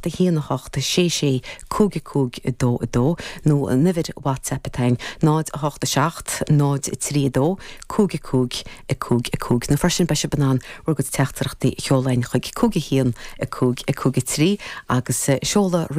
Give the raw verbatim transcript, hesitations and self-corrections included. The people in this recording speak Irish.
seacht a haon a hocht sé sé cúig cúig dó dó nó an uimhir WhatsApp atá náid a hocht a seacht náid trí dó cúig cúig a cúig a cúig nó freisin beidh sibh in ann bhur gcuid teachtaireachtaí a sheoladh chuig cúig a haon a cúig a cúig trí agus seoladh